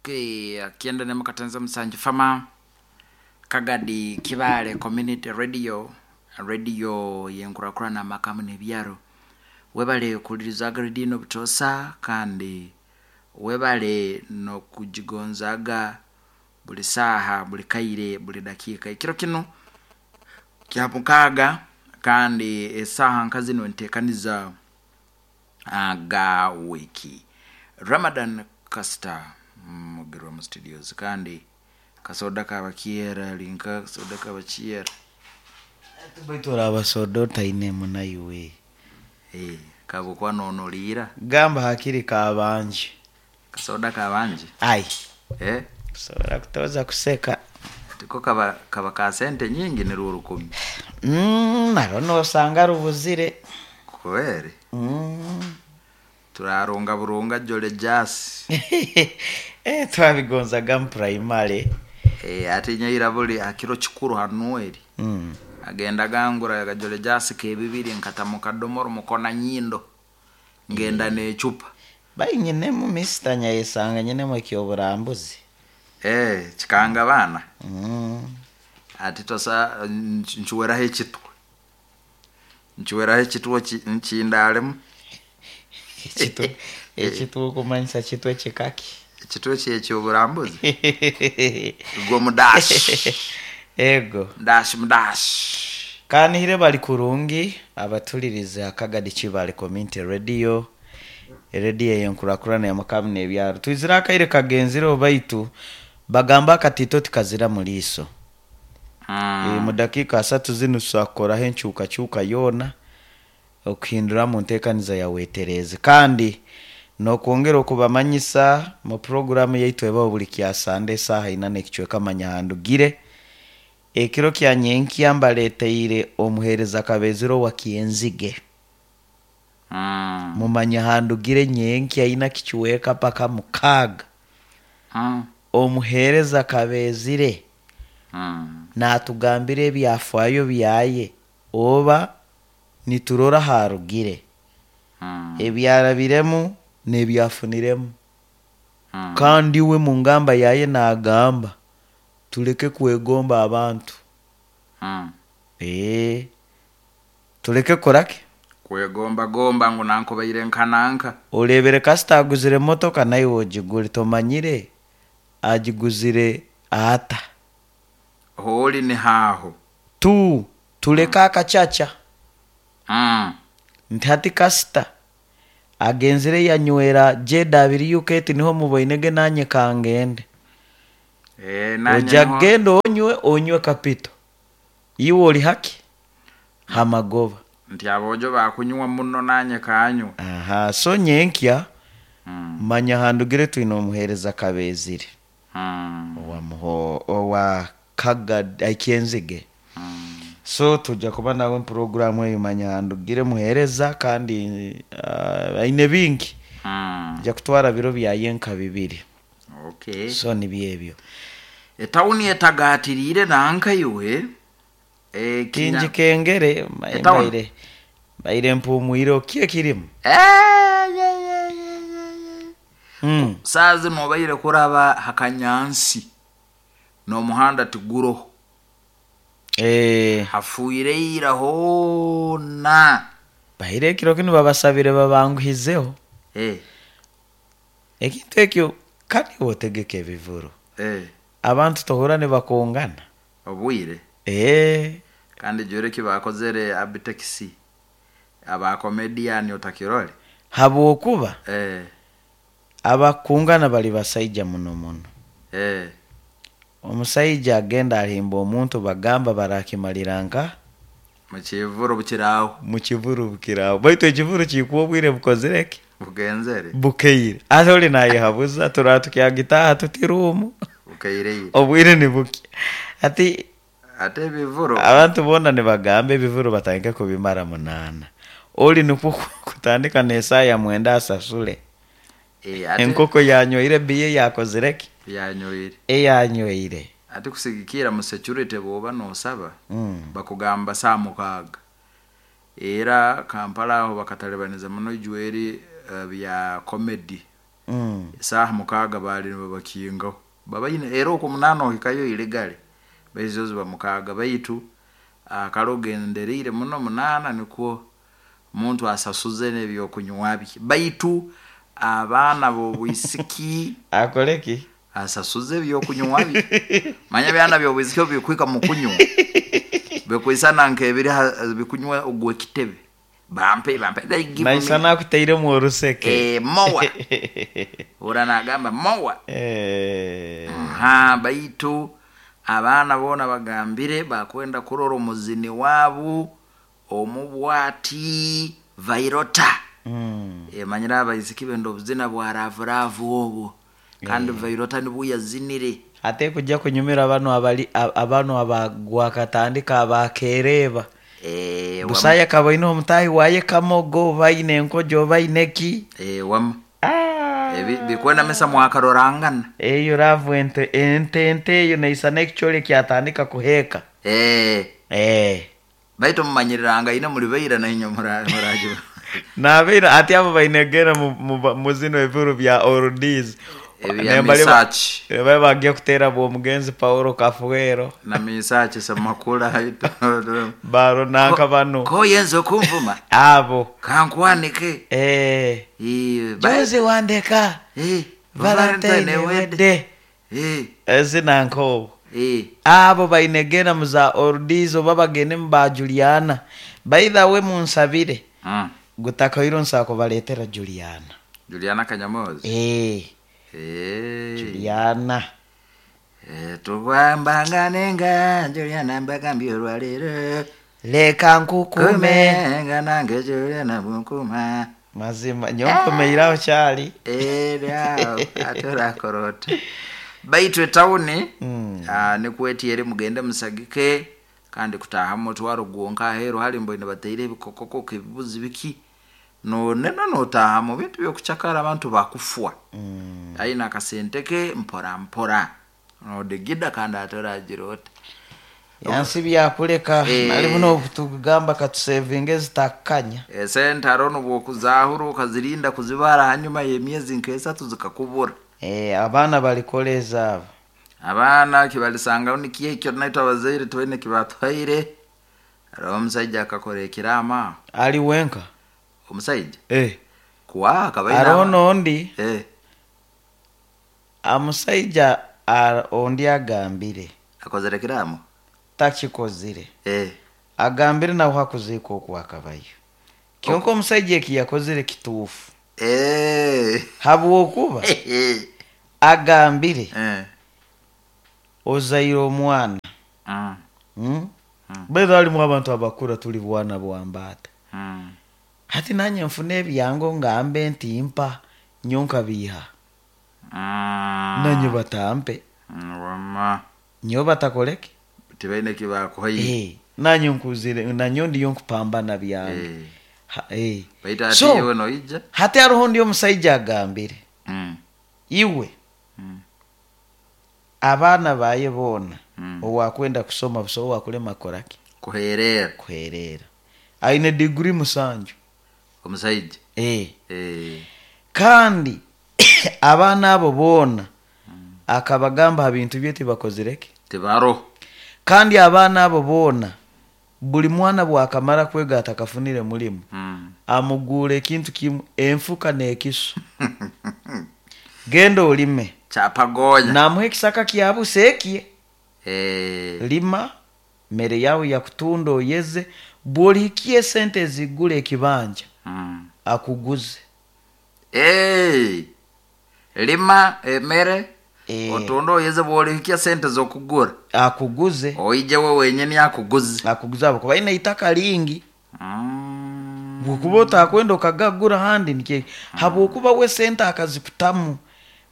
Okay, akienda ne mukatenza musanju fama Kagadi Kibale Community Radio, radio yenkurakurana amakamu n'ebyaro. Webale kuwulirizaga radio eno butoosa kandi webale n'okugigonzaaga buli saaha, buli kaire, buli dakiika. Ekiro kinu kya mukaaga kandi esaaha nka zinu nteekaniza aga wiiki. Ramadan Kasita Mugirwa mu studios kandi kasoda kabakyera linka kasoda kabakyera. Baitu oraaba soda otainemu naiwe. Eh, kabukwa nonoliira. Gamba hakiri kabanje. Kasoda kabanje. Ai. Eh? Kusobora kutoza kuseka. Tiko kaba kaba ka sente nyingi ni rukumi. Naro nosanga rubuzire. Kweri. Turarunga burunga jole jasi. Eh, twabigonzaga mu primary. Eh, ate nyaira buli akiro kikuru hanueri. Agenda gangura gajole jasi kebibiri nkata mu kadomoro mukona nyindo. Ngenda n'ecupa. Bainyinemu misita nyayesanga nyinemu ekyoburambuzi. Eh, kikanga baana. Ati tosa nchuweraho ekitwe. Nchuweraho ekitwe nkindalemu. Ekitwe ekitwe okumanyisa kitwe kikaki. Ekitwe kyekyoburambuzi. Gwo mudashi. Ego. Ndashi mudashi. Kanihire bali kurungi abatulirize Akagadi Kibale Community Radio. Radio eyenkurakurana y'amakamu n'ebyaro. Twizire akaire kagenzire baitu bagamba akatito tikazira mu liiso. Mu dakiika asatu zinu tusakukoraho enkyukakyuka yoona okuhindura mu nteekaniza ya weetereze kandi n'okwongera okubamanyisa mu puroguramu yaitu ebaho buli kya Sande esaaha ina n'ekicweka manya handugire. Ekiro kya nyenkya mbaleeteire omuheereza Kabezire owa Kyenzige. Mumanya handugire nyenkya ina kicweka paka mukaaga. Omuheereza Kabezire naatugambira ebyafaayo byaye oba niturora haarugire. Ebyarabiremu n'ebyafuniremu. Kandi we mu ngamba yaye naagamba tuleke kwegomba abantu. Tuleke kukoraki? Kwegomba gomba ngu nankubaire nka nanka. Orebere kasita aguzire emotoka naiwe ogigure tomanyire agiguzire ata. Hooli ni haaho. Tu tuleke akacaca. Nti hati kasita agenzire yanywera jeda abiri UK niho muboinege nanye kangende. Eh, nanye Oja niho. genda onywe onywe kapito. Iwe oli haki hamagoba. Nti abojo bakunywa muno nanye kanywa. Aha, so nyenkya manya handugire twine omuheereza Kabezire. Owa muho owa Kagadi Kyenzige. So tujja kuba nawe programu eyo manya handugire muheereza kandi aine bingi. Nja kutwara biro byaye nka bibiri. Okay. So nibyo ebyo. Etawuni etagaatiriire nanka iwe. Kingi kengere Etawuni. mbaire mbaire mpumwire okie kirimu. Saa zino obaire kuraba hakanyansi n'omuhanda tiguroho. Hafuire ira hoona. Baire ekiro kinu babasabire babanguhizeho. Ekintu ekyo kandi otegeka ebivuro. Abantu tohura nibakungana. Obwire. Kandi jure kibakozere abitekisi aba comedian otakirole. Habwokuba abakungana bali basaija muno muno. Omusaija agenda ahimba omuntu bagamba barakimalira nka mukivuro bukiraho. Mukivuro bukiraho. Baitu ekivuro kikuwa obwire bukozire ki? Bugenzere. Bukeire. Ate oli nayehabuza turaba tukyagitaha tutirumu. Bukeire. Obwire ni buke. Ati ate ebivuro abantu boona nibagamba ebivuro batandike kubimara 8. Oli nikwo kutandika n'esaaha ya 9 asasule. Ate Enkoko yanyoire biye yakozire ki? Yanyoire. Eyanyoire. Ate kusigikira mu security bwoba nosaba bakugamba saa 6. Era Kampala aho bakatalibaniza muno ijweri bya comedy. Esaaha 6 baali nibabakingaho babaine era okwo 8 ohikayo ilegale baizo ziba 6 baitu kale ogendereire muno 8 nikwo omuntu asasuze n'ebyokunywa bye baitu abaana b'obwisiki akoleki asasuze ebyokunywa bye manya byana by'obwisiki obu bikuhika mu kunywa bikwisana nk'ebiri bikunywa ogw'ekitebe bampe bampe they give me naisana akuteiremu oruseke mowa ora nagamba mowa ha baitu abaana boona bagambire bakwenda kurora omuzini waabu omubwati Vairota. Manyire abaisiki benda obuzina bwa ravuravu obwo kandi Vairota nibwo yazinire ate kujja kunyumira bano abali abano abagwakatandika abakeereba busaya kabaine omutahi waye kamogo baine enkojo baine ki wama bikwenda mesa mwakarorangana eyo ravu ente ente ente eyo naisana ekichole kyatandika kuheka baitu mumanyiriranga ine muri baira na inyo muraji nabeira ati abo bainegera mu zino ebiro bya oldies ebya misachi babe bagiye kutera bwo mugenzi Paulo Kafuero na misachi semakula baro nanka bano ko yenzo kumvuma abo kankwanike juzi wandeka Valentine wede ezi nanko abo bainegera muza oldies oba bagende mu ba Juliana by the way munsabire gutakairo nsako baletera Juliana Juliana Kanyamozi Juliana tukwambanganenga Juliana mbagambye olwaleero leka nkukume nga nange Juliana bwenkuma mazima nyonkomeiraho kyali era ate orakorota baitu etawuni nikwetiere mugende musagike kandi kutaha mutwaro gwonka aheeru hali mboine bateire ebikokoko ebibuzi biki nonena notaha mu bintu byokucakara abantu bakufwa aina akasente ke mpora mpora nodigida kandi atoragira ota yansi byakuleka nali buno obutugamba katusevinga ezitakanya esente arono bwokuzahura okazirinda kuzibara hanyuma y'emyezi nk'esatu zikakubura abaana balikora ezaabo abaana kibalisangaho nikiyo ekyo naitwe abazaire twine kibatwaire hariho omusaija akakora ekiraama ali wenka omusaija kuwa akaba hariho n'ondi amusaija ondi agambire akozere ekiraamo takikozire agambire nawe hakuziika okwakabayo kyonka omusaija eki yakozire kituufu habwokuba agambire ozaire omwana baitu halimu abantu abakura tuli bwana bwambaata hati nanye nfuna ebyango ngambe nti mpa nyonka biha nanye batampe nyo batakoleke tibaine kibakuhaire nanye nkuzire nanyo ndiyo nkupambana byange so noija hati hariho ndi omusaija agambire iwe abaana baye boona owakwenda kusoma busa owakulema koraki kuherera aine degree 7 omusaija kandi abaana abo boona akabagamba ha bintu bye tibakozireke tibaro kandi abaana abo boona buli mwana bwakamara kwega atakafunire mulimu amugura ekintu kimu enfuka n'ekisu genda olime chapagonya namuha ekisaka kyabuseekie lima mere yawe yakutunda oyeze bwolihikia esente ezigula ekibanja akuguze lima emere otunda oyeze bwolihikia sente zokugura akuguze oije we wenyini akuguze akuguze abo kuba ine itaka lingi bwokuba otakwenda okagagura handi nikye habwokuba we sente akaziputamu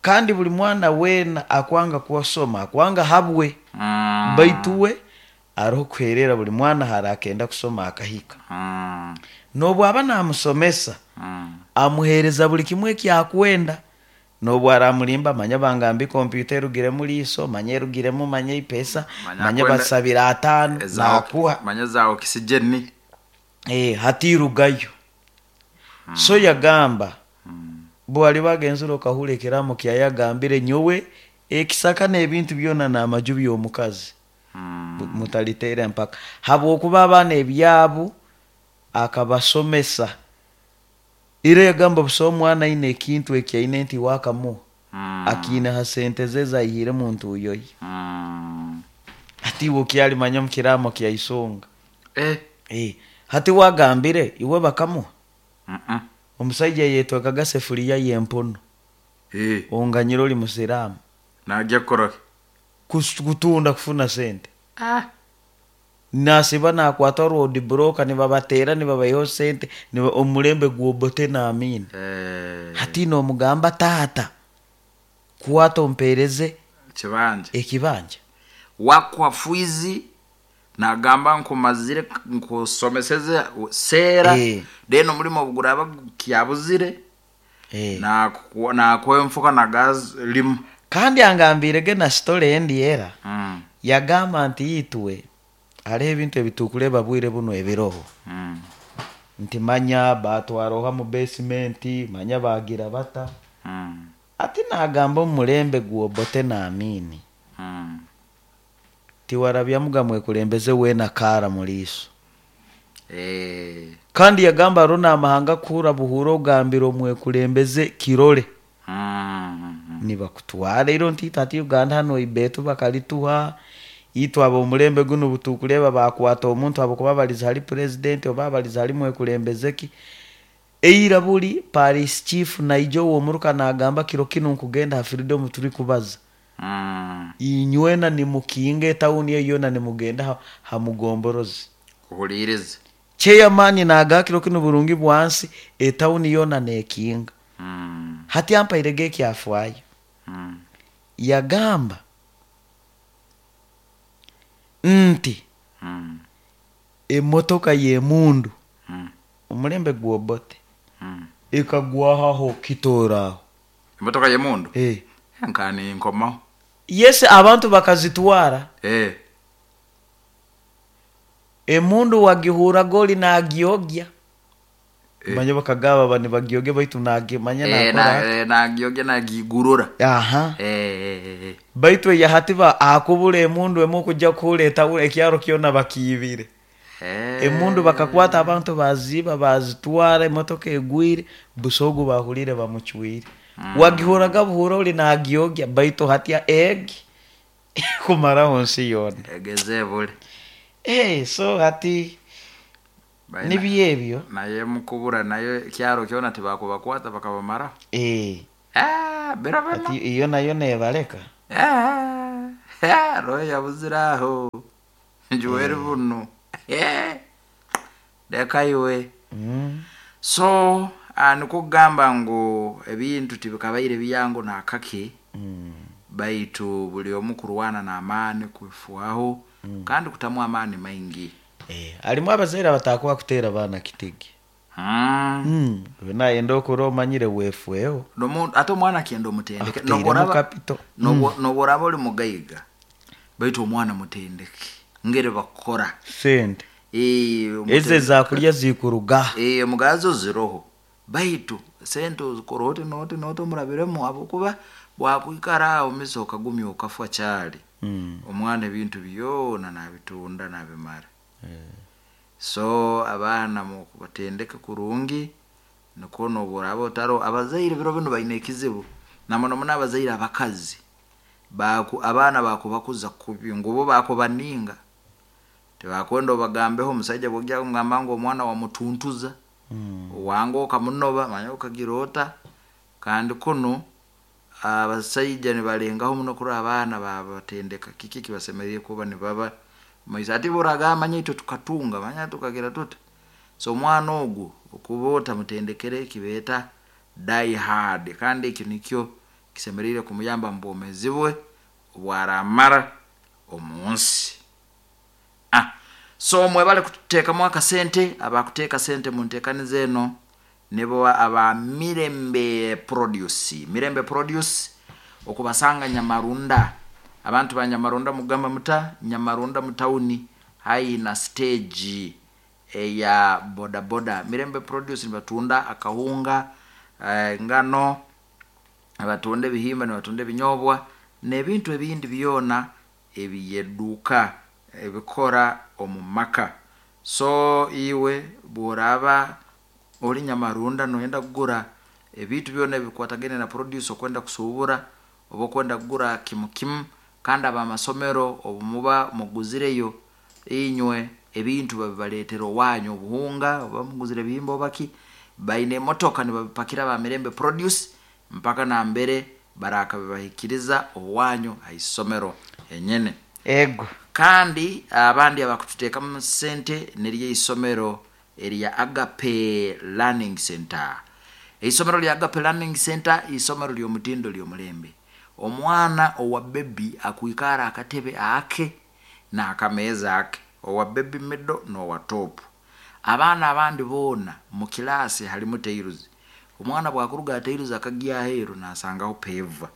kandi buli mwana wena akwanga kuwasoma akwanga habwe baitu we ariho kuherera buli mwana hari akenda kusoma akahika nobwaba namusomesa amuhereza buli kimwe ekyakwenda nobwo aramulimba manya bangambi kompyuta erugiremu liiso manya erugiremu manya ipesa manya basabira 5 nakuha manya za oxygen hatirugayo so yagamba Bwali bagenzire okahura ekiramo kyayagambire nyowe ekisaka n'ebintu byona n'amaju by'omukazi. Mutaliteera empaka habwokuba abaana ebyabu akabasomesa ira yagamba busa omwana aine ekintu eki aine nti wakamuha akiine ha sente ze zaihire mu ntuuyo ye. Hati iwe okyalimanya omu kiramo kya isonga. Eh, hati wagambire iwe bakamuha. Omusaija yetwekaga sefuriya y'empono. Onganyira oli musiraamu. Najja kukora ki? Kutunda kufuna sente. Nasiba nakwata road broker nibabateera nibabaihaho sente omulembe gw'Obote n'Amini. Hati nomugamba taata kwata ompereze kibanja ekibanja. Wakwa fwizi nagamba nkumazire nkusomeseze seera. Then omulimo obuguraba kyabuzire, nakwenfuka nagaz limu. Kandi angambirege na story endi era. Yagamba nti itwe hariho ebintu ebitukureba bwire buno ebiroho. Nti manya batwaroha mu basement, manya bagira bata. Ati nagamba omulembe gw'Obote n'Amini. Tiwarabyamuga mwekulembeze weena kaara muliiso. Kandi yagamba hariho n'amahanga kuhura buhura ogambira omwekulembeze kirole. Nibakutwara iro nti itwe hati Uganda hanu ibeetu bakalituha itwe ab'omulembe gunu butukureba bakwata omuntu habwokuba baliza hali president oba baliza hali mwekulembeze ki. Eira buli parish chief naija ow'omuruka nagamba kiro kinu nkugenda ha freedom turi kubaza. Inywena nimukinga etawuni eyo yoona nimugenda ha mugomborozi. Kuhuliiriza. Chairman nagaa kiro kinu burungi bwansi etawuni yoona nekinga. Hati ampairege ekyafaayo. Yagamba nti emotoka y'emundu omulembe gw'Obote ekagwahaho kitooraaho. Emotoka y'emundu? Nkani nkomaho. Yes, abantu bakazitwara. Emundu wagihuraga oli nagiogya. Manya bakagaba bani bagiogya baitu nagimanya nakora. Nagiogya nagigurura. Aha. Baitu eya hati ba akubura emundu emu okujja kuhureeta ekyaro kyona bakiibire. Emundu bakakwata abantu baziiba bazitwara emotoka egwire busogo bahulire bamucwire. Wagihuraga buhura oli nagiogya baitu hatya egi kumaraho nsi yoona. Egeze bule. So hati nibyo ebyo. Naye mukubura nayo ekyaro kyona tibakubakwata bakabamaraho. Bira bino. Hati iyo nayo nebaleka. Roho yabuzire aho. Njuweri buno. Leka iwe. So nikwo kugamba ngu ebintu tibikabaire byangu nakake. Baitu buli omu kurwana n'amaani kwifuaho kandi kutamu amaani maingi. Harimu abazaire abatakuba kuteera abaana kitigi. Nayenda okura omanyire wefueho. Ate omwana akenda omutendeke. Akuteiremu capital. Noboraba oli mugaiga baitu omwana mutendeke ngeri bakukora. Sente. Eze zakulya zikuruga. Omugazo ziroho baitu sente ozikora oti noti noti omurabiremu habwokuba bwakwikara aho miso okagumya okafwa kyali. Omwana ebintu byona nabitunda nabimara. So abaana mukubatendeka kurungi nikwo noboraba otaro abazaire biro binu baine ekizibu na muno muno abazaire abakazi abaana bakubakuza kubi ngu bo bakubaninga tibakwenda obagambeho omusaija bwogya kumugamba ngu omwana wamutuntuza. Wange okamunoba manya okagira ota kandi kuno abasaija nibalengaho muno kurora abaana babatendeka kiki kibasemeriire kuba nibaba maisa ati boragamba manya itwe tukatunga manya tukagira tuta. So omwana ogu okuba otamutendekere kibeeta die hard kandi ekyo nikyo kisemeriire kumuyamba mu bwomeezi bwe obwaramara omu nsi. So mwebale kututeekamu akasente abakuteeka sente mu nteekaniza eno nibo aba Mirembe Produce. Mirembe Produce okubasanga Nyamarunda. Abantu ba Nyamarunda mugamba muta Nyamarunda mu tawuni haihi na stage eya bodaboda. Mirembe Produce nibatunda akahunga, Engano, nibatunda ebihimba, nibatunda ebinyobwa n'ebintu ebindi byona ebiyeduuka ebikora omu maka. So iwe bworaba ori Nyamarunda noyenda kugura ebintu byona ebikwatagaine na produce, okwenda kusuubura oba okwenda kugura kimu kimu, kandi abamasomero obu muba muguzireyo inywe ebintu babibaleetera owanyu, obuhunga oba muguzire ebihimba oba ki, baine emotoka nibabipakira ba Mirembe Produce mpaka nambere barakabibahikiriza owanyu ha isomero henyene. Ego. Kandi abandi abakututeekamu sente niryo isomero erya Agape Learning Center. Isomero lya Agape Learning Center isomero ly'omutindo ly'omulembe. Omwana owa bebi akwikara akatebe ake n'akameeza ake, owa baby middle n'owa top. Abaana abandi boona mu kilaasi halimu tiles. Omwana bwakuruga ha tiles akagya aheeru nasangaho paver,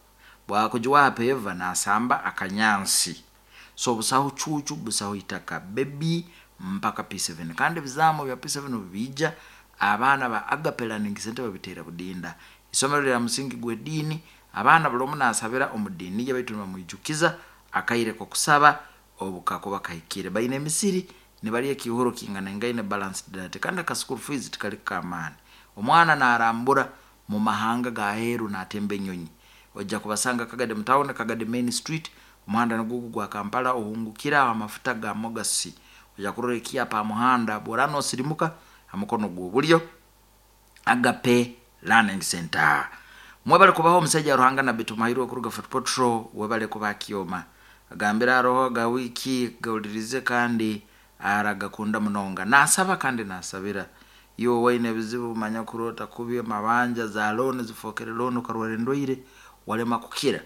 bwakugiwa ha paver nasamba akanyansi. So busaho cuucu, busaho itaka, baby mpaka P7. Kandi ebizamu bya P7 obu biija, abaana ba Agape Learning Center babiteera budinda. Isomero lya musingi gw'ediini, abaana buli omu nasabira omu diini ye baitu nibamwijukiza akaire k'okusaba obu kakuba kahikire. Baine emisiri nibarya ekiihuro kinganaingaine balanced diet, kandi aka school fees tikali k'amaani. Omwana narambura mu mahanga g'aheeru natemba enyonyi. Ojja kubasanga Kagadi mu town, Kagadi main street, omuhanda nigwo gwa Kampala, ohungukire aho amafuta ga Mogasi. Ojja kurora ekyapa ha muhanda, bworaba nosirimuka ha mukono gw'obulyo, Agape Learning Center. Mwebale kubaho omusaija Ruhanga Nabbi Tumuhairwe kuruga Fort Portal, webale kuba Kyoma. Agambira aroho ga wiki gawulirize kandi aragakunda munonga. Nasaba kandi nasabira. Iwe waine ebizibu manya kurota kubi, amabanja za loan zifokere loan, okarwara endwaire walema kukira.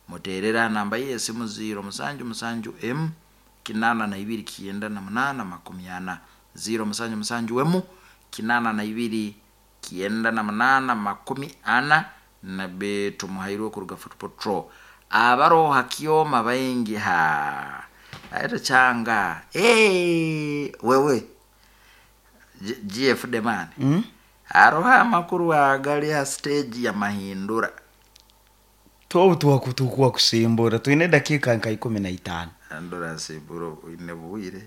Muterera namba ye esimu 077 M 82 98 40, 077 M 82 98 40. Nabbi Tumuhairwe kuruga Fort Portal. Abaroha Kyoma baingi ha aito changa wewe GF Demani. Aroha amakuru agali ha stage ya Mahindura. Tobu twakutukwa kusimbura twine dakika nka 15. Andora simburo ine bwire.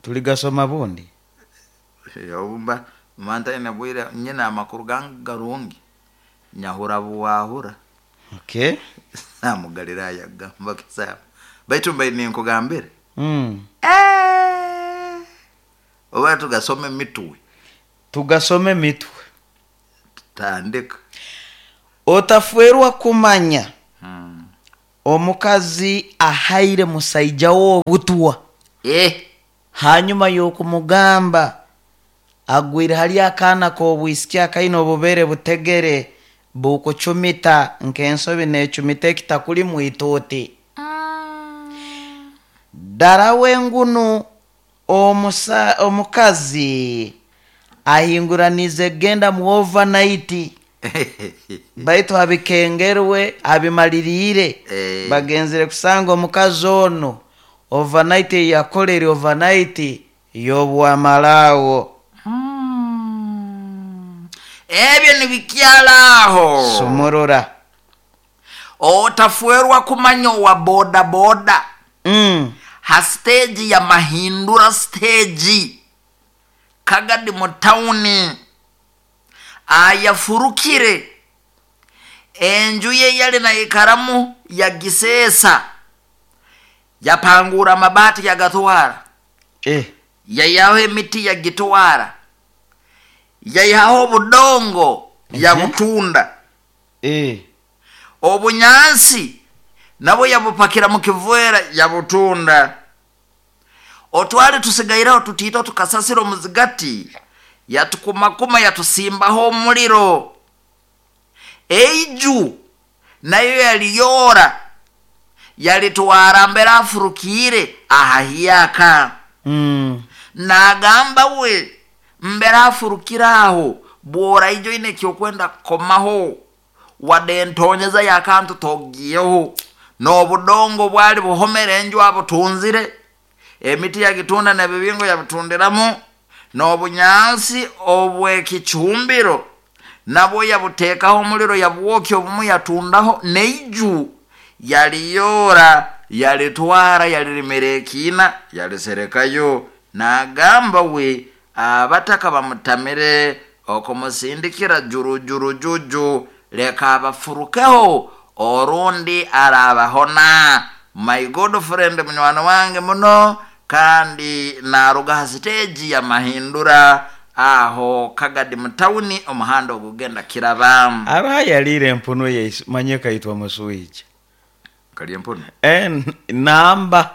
Tuligasoma bundi. Obumba manta ine bwire nyina amakuru garungi. Nyahura buwahura. Okay. Namugaliraya gamba kisaba. Baitu mbaine ninkugambire. Oba tugasome mitwe. Tugasome mitwe. Tandika. Otafwerwa kumanya. Omukazi ahaire musaija w'obutwa. Hanyuma y'okumugamba agwire hali akaana k'obwisiki akaine obubere butegere bukucumita nk'ensobi n'ecumita ekitakuli mwituuti. Ddala wengunu omukazi ahinguranize genda mu overnight. Baitu abikengerwe abimaliriire. Bagenzere kusanga omukazi ono overnight eyakolere overnight y'obwamalaawo. Ebyo nibikyalaaho. Sumurura. Otafwerwa kumanya owa boda boda. Ha stage ya Mahindura stage Kagadi mu tawuni ayafurukire enju ye yali naikaramu yagiseesa, yapangura amabati yagatwara, yayaho emiti yagitwara, yayihaho obudongo yabutunda, obunyansi nabo yabupakira mu kivera yabutunda. Otwali tusigaireho tutito tukasasira omuzigati, yatukumakuma yatusimbaho omuliro. Eiju nayo yaliyora yalitwara mbere afurukire ahahiyaka. Nagamba we mbere afurukire aho bwora ijo ine kyokwenda komaho wade ntonyeza yakantu togiyeho n'obudongo bwali buhomere enju abutunzire, emiti yagitunda n'ebibingo yabitundiramu, n'obunyansi obw'ekicumbiro Nabwo yabuteekaho omuliro, yabwokya, obumu yatundaho neiju, yaliyora, yalitwara, yalirimira ekiina, yaliserekayo. Nagamba we abataka bamutamire okumusindikira jurujurujuju, leka abafurukeho orundi arabahona. My good friend, munywani wange muno, kandi naruga ha siteegi ya Mahindura aho Kagadi mutawuni, omuhanda ogugenda Kiraba. Aroho yaliire empunu ye manye kaitwa muswija. Kali empunu. Namba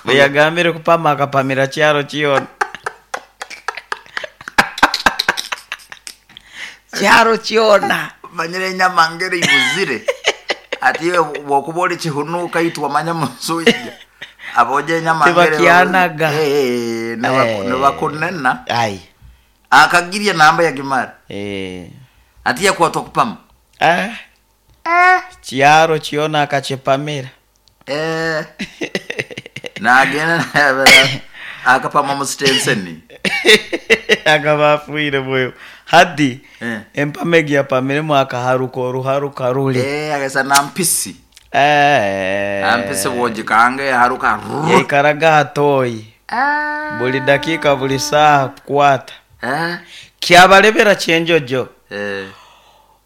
beyagambire kupama akapamira kyaro kyona. Kyaro kyona. Manyire enyama ngeri ibuzire ati iwe bwokuba oli kihunuka itwe manya muswija aboja enyama ngeri. Tibakyanaga. Nibakunena. Ai. Akagirya namba yagimara. Ati yakwatwa kupama. Kyaro kyona akakipamira. Nagenda akapama musitenseni. Akaba afuire bwewe hadi. Empama egi yapamiremu akaharuka oruharuka ruli. Agesa nampisi. Nampisi bwogikange haruka. Yaikaraga hatoyi buli dakika buli saaha kukwata. Kyabalebera kyenjojo.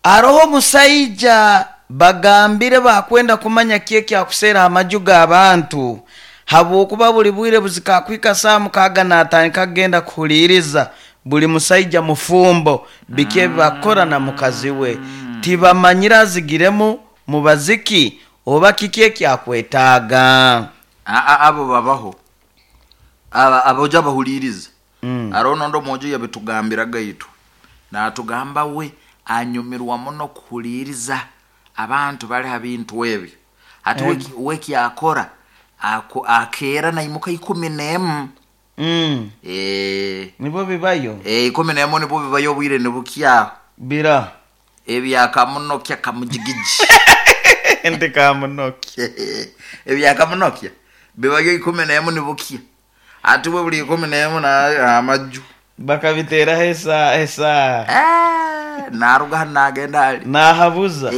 Aroho omusaija bagambire bakwenda kumanya ki ekyakuseera amaju g'abantu, habwokuba buli bwire buzikakwika saa 6 natandika kugenda kuhuliiriza buli musaija mufumbo biki ebi bakora na mukazi we. Tibamanyire azigiremu mubaziki oba kiki ekyakwetaaga. Abo babaho aboja bahuliiriza. Aroho nondo omwojo yabitugambiraga itwe, natugamba we anyumirwa muno kuhuliiriza abantu bali ha bintu ebyo. Ati we kyakora akeera naimuka 11. Nibo bibayo. 11 nibo bibayo, obwire nibukyaho. Bira ebyakamunokya kamujigiji. Ndi kamunokya. Ebyakamunokya bibayo 11 nibukya. Ati we buli 11 na amaju bakabiteraho esa. Naruga nagenda ali nahabuza.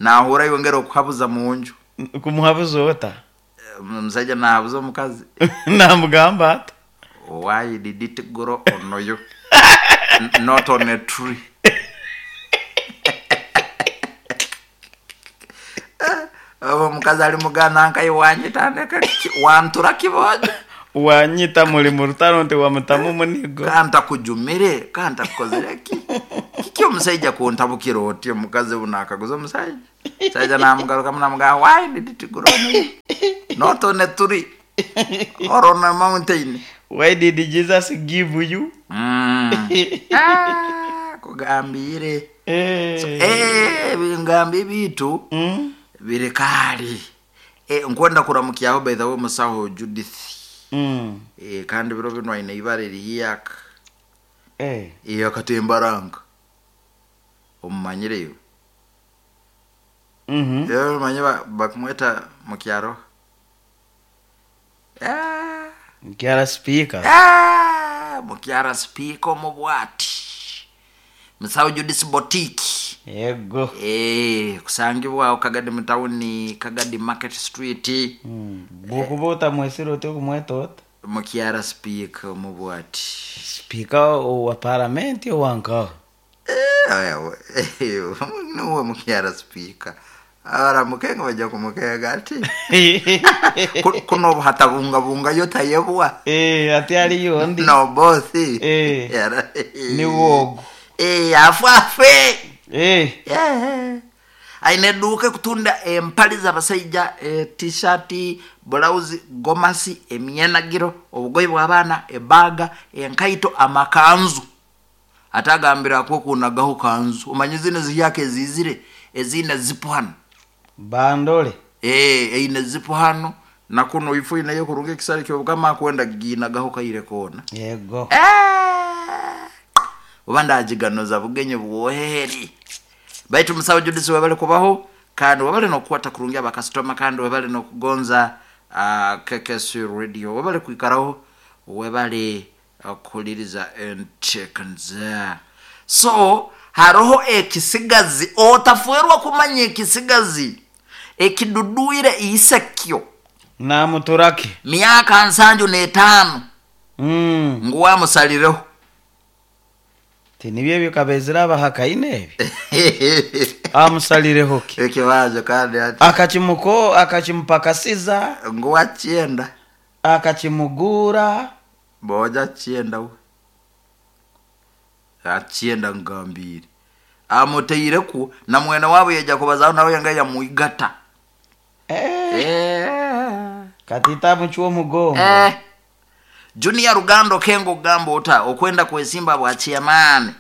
Nahura yongera okuhabuza munju. Kumuhabuza ota? Omusajja nahabuza omukazi. Namugamba ata? Why did it grow on you? Not on a tree. Omukazi ali mugana nkaye wanyitandeka wantura kibojo. Wanyita muli mu rutaro nti wamutamu munigo. Kanta kujumire, kanta kukozere ki? Kiki omusajja kuntabukira oti omukazi buno akaguza omusajja. Sajja namugaruka namugamba why did it grow on you? Not on a tree or on a mountain. Why did Jesus give you? Kugambire. So, bingambi bitu birikali. Nkwenda kuramukyaho by the way musaho Judith. Kandi biro bino aine ibare rihiyaka. Iyo akatembaranga. Omumanyireyo. Manye bakumweta mukyaro. Mukyara speaker. Mukyara speaker omubwati. Musaho Judith Boutique. Yego. Kusangibwa Kagadi mutawuni, Kagadi Market Street. Bwokuba otamwesire oti okumweta ota? Mukyara speaker omubwati. Speaker owa paramenti owankaho? Nuwe mukyara speaker. Abaramukenga bajja kumukenga ati kuno obuhatabungabunga yo tayebwa. Ati aliyo ndi. No bosi. Ni wogo. Afafe. Aine duka kutunda empali z'abasajja, t-shirt, blouse, gomasi, emyenagiro, obugoyi bw'abaana, ebaga, enkaito, amakanzu. Atagambira ko kunagaho kanzu. Omanye zino ziyake ezizire, ezine zipo hano. Bandole. Eine zipo hano. Na kuno ifu inayo kurunga ekisale kyobukama kwenda ginagaho kaire kona. Yego. Oba ndagiganoza bugenye bwoheri. Baitu musawo Judith webale kubaho kandi webale nokukwata kurungi abakasitoma kandi webale nokugonza KKC Radio. Webale kwikaraho, webale Okuhuliriza enteekaniza. So haroho ekisigazi otafwerwa kumanya, ekisigazi ekidudwire isekyo. Namuturake. Myaka 75. Ngu wamusalireho. Tinibyo ebyo kabezire abahakaine ebi amusalireho ki? Ekibazo kandi ati Akakimuko akakimupakasiza. Ngu wakyenda. Akakimugura. Boja akyenda, we akyenda ngambire amuteireku na mwene wabo yaija kubazaho nawe nga yamwigata. Eh, Eh. Katita muchwa omugongo. Eh. Junior Rugando Kengo, ogamba ota okwenda kwesimba bwa chairman?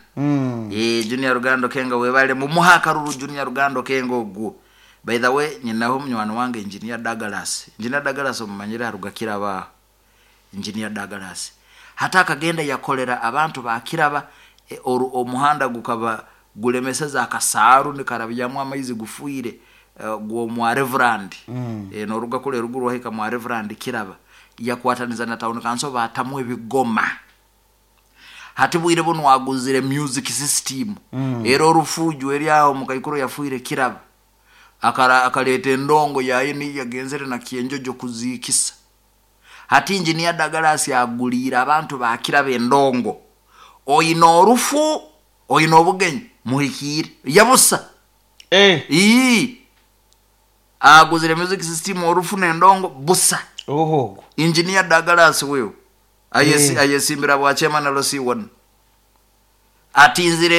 Eh, Junior Rugando Kengo, webale mumuha akaruru. Junior Rugando Kengo ogwo, by the way, nyinaho munywani wange Engineer Douglas. Engineer Douglas omumanyire, aruga Kiraba. Engineer Douglas hata akagenda yakolera abantu bakiraba omuhanda gukaba gulemeseza akasaaru nikarabyamu amaizi gufuire, gwomwa Reverend. Noruga kule ruguru wahika mwa Reverend Kiraba, yakwataniza na town council batamu ebigoma. Hati bwire buno aguzire music system. Era orufuju eri aho mukaikuru yafuire Kiraba, akaleta endongo yaye niyo yagenzere na kyenjojo kuziikisa. Hati Engineer Douglas aguliire abantu bakiraba endongo. Oyina orufu, oyina obugenyi, muhikiire yabusa. Eh. Ii aguzire music system, orufu nendongo busa. Oho. Engineer Douglas wewe ayesi, ayesimbira bwa chairman LC1, atinzire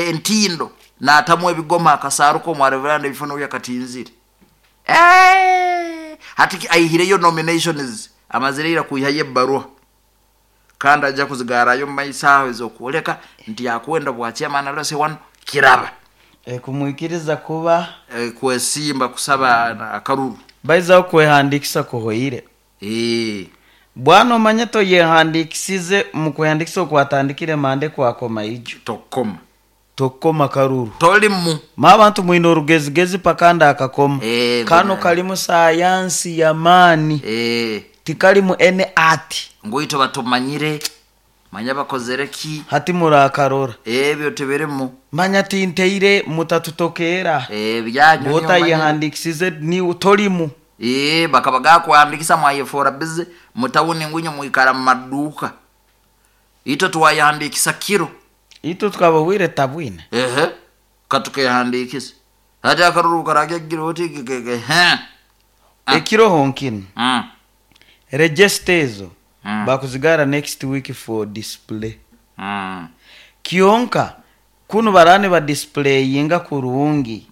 entindo n'atamu ebigoma akasaaru komwareveranda ebifo noyo akatinzire. Eh, hati aihireyo nominations, amazire ira kuihayo ebbaruha kandi ajja kuzigarayo mu maiso aho ezokwoleka nti akwenda bwa chairman LC1 Kiraba. Eh, kumwikiriza kuba Eh, kwesimba kusaba akaruru. Baizaho kwehandikisa kuhoire. Eh. Bwana omanye toyehandikisize mu kwehandikisa okwatandikire mande kwakoma ijo. Tokoma. Tokoma karuru. Tolimu. Ma abantu mwine orugezigezi pakanda akakoma. Eh, kano kalimu sayansi yamaani. Tikalimu ene ati. Ngoito batumanyire manya bakozere ki. Hati murakarora. Ebyo tebirimu. Manya tinteire mutatutokera. Eh, byanyu niyo manyire. Bwotayehandikisize ni tolimu. Eh, bakaba gakuhandikisa mwayefora bize mutawuni ngwinyo mwikara mu maduka, ito twayahandikisa kiro. Itwe tukabawire tabwine. Ehe, katukehandikisa hati akaruru karagyagira oti kekeke he. Ah. Ekiro honkino register ezo bakuzigara next week for display. Kyonka kunu barani badisplayinga kurungi.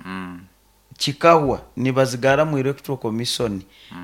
Kikahwa nibazigara mu Electoral Commission.